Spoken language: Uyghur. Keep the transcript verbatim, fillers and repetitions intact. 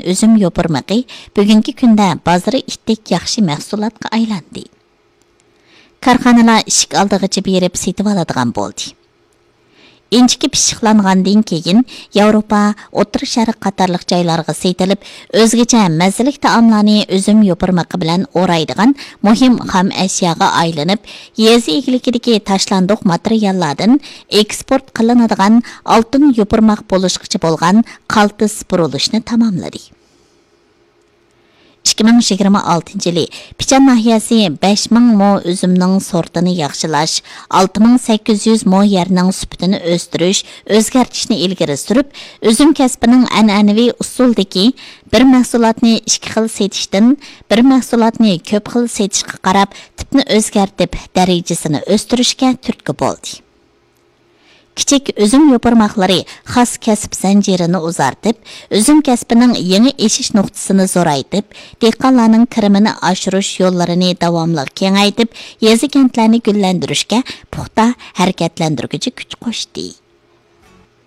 ئۈزۈم يوپۇرمىقى بۈگۈنكى كۈندە بازىرى ئىتتىك ياخشى مەھسۇلاتقا ئايلاندى. كارخانىلار ئىشىك ئالدىغىچە بېرىپ سېتىۋالىدىغان بولدى. ئىنچىكە پىششىقلانغاندىن كېيىن، ياۋروپا، ئوتتۇرا شەرق قاتارلىق جايلارغا سېتىلىپ، ئۆزگىچە مەززىلىك تائاملارنى ئۈزۈم يوپۇرمىقى بىلەن ئورايدىغان مۇھىم خام ئەشياغا ئايلىنىپ، يېزا ئىگىلىكىدىكى تاشلاندۇق ماتېرىياللاردىن ئېكسپورت قىلىنىدىغان ئالتۇن يوپۇرماق بولۇشقىچە بولغان قالتىس بۇرۇلۇشنى تاماملىدى. ئىككى مىڭ يىگىرمە ئالتىنچى يىلى پىچان ناھىيەسى بەش مىڭ مو ئۈزۈمنىڭ سورتىنى ياخشىلاش، ئالتە مىڭ سەككىز يۈز مو يەرنىڭ سۈپىتىنى ئۆستۈرۈش، ئۆزگەرتىشنى ئىلگىرى سۈرۈپ، ئۈزۈم كەسپىنىڭ ئەنئەنىۋى ئۇسۇلدىكى بىر مەھسۇلاتنى ئىككى خىل سېتىشتىن بىر مەھسۇلاتنى كۆپ خىل سېتىشقا قاراپ، تىپنى ئۆزگەرتىپ، دەرىجىسىنى ئۆستۈرۈشكە تۈرتكە بولدى. كىچىك ئۈزۈم يوپۇرماقلىرى خاس كەسىپ زەنجىرىنى ئۇزارتىپ، ئۈزۈم كەسپىنىڭ يېڭى ئېشىش نۇقتىسىنى زورايتىپ، دېھقانلارنىڭ كىرىمىنى ئاشۇرۇش يوللىرىنى داۋاملىق كېڭەيتىپ، يېزا كەنتلەرنى گۈللەندۈرۈشكە پۇختا ھەرىكەتلەندۈرگۈچى كۈچ قوشتى.